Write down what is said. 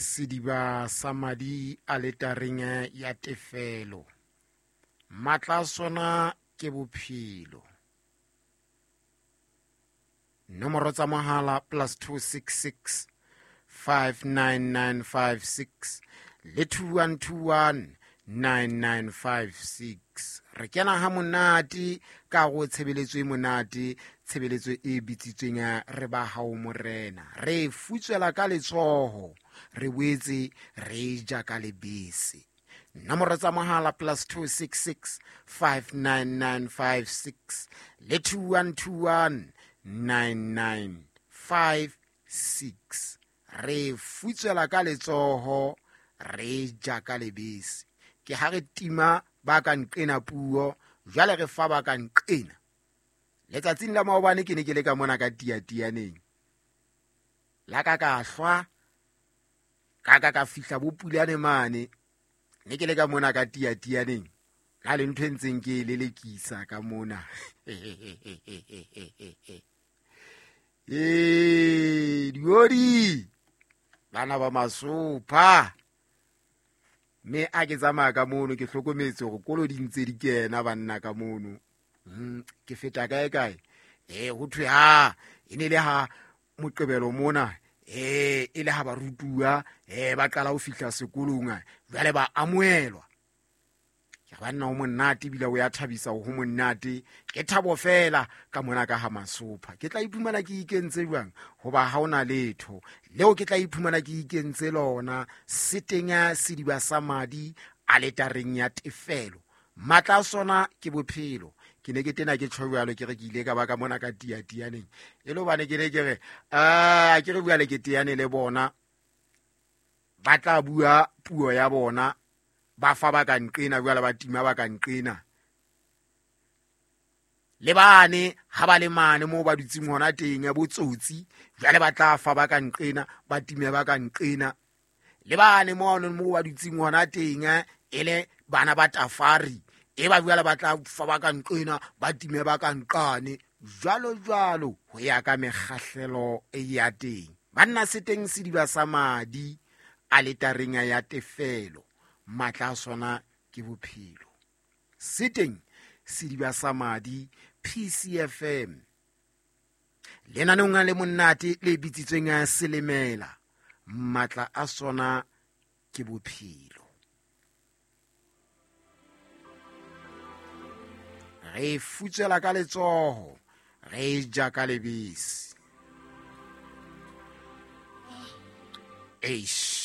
Sediba sa madi aletareng ya tefelo. Matla a sona ke bophelo. Nomoro tsa mohala +266 59956 le 2121 9956. Re kena ha monate ka go tshebeletso e monate, tshebeletso e bitsitsweng re ba hao morena. Re futswela ka letsoho, re boetse re ja ka lebese. Nomoro tsa mohala +266 59956 le 2121 9956. Re futswela ka letsoho, re ja ka lebese. Ke ha re tima ba ka nqena puo, jwale re fa ba ka nqena. Letsatsing la maobane ke ne ke le ka mona ka tiatianeng. La ka ka hlwa, ka ka ka fihla bo pulane mane. Ne ke le ka mona ka tiatianeng. Na le ntho e ntseng ke e lelekisa ka mona. Ee, diodi bana ba masopha. Mme a ke tsamaya ka mono ke hlokometse hore kolo di ntse di kena banna ka mono. Ke feta kae kae? Ho thwe ha e ne le ha Moqebelo mona, e le ha barutuwa, ba qala ho fihla sekolong, jwale ba amohelwa. Ke banna ho monate ebile o ya thabisa ho monate. Ke thabo fela ka mona ka ha masopha. Ke tla iphumana ke ikentse jwang? Hoba ha hona letho leo ke tla iphumana ke ikentse lona. Se teng sediba sa madi aletareng ya tefelo. Matla a sona ke bophelo. Ke ne ke tena ke tjho jwalo, ke re ke ile ka ba ka mona ka tiatianeng. E le hobane ke ne ke re, ke re jwale ke teane le bona. Ba tla bua puo ya bona, ba fa ba ka nqena jwale ba tima ba ka nqena. Le bane ha ba le mane moo ba dutseng hona teng ya botsotsi, jwale ba tla fa ba ka nqena, ba time ba ka nqena. Le bane moo ba dutseng hona teng, e le bana ba tafari, e ba jwale ba tla fa ba ka nqena, ba time ba ka nqane, jwalo jwalo ho ya ka mekgahlelo ya teng. Banna se teng sediba sa madi aletareng ya tefelo, matla a sona ke bophelo. Se teng sediba sa madi PCFM. Lenaneong le monate le bitsitsweng Selemela, matla a sona ke bophelo. Re futswela ka letsoho, re ja ka lebese. Eish.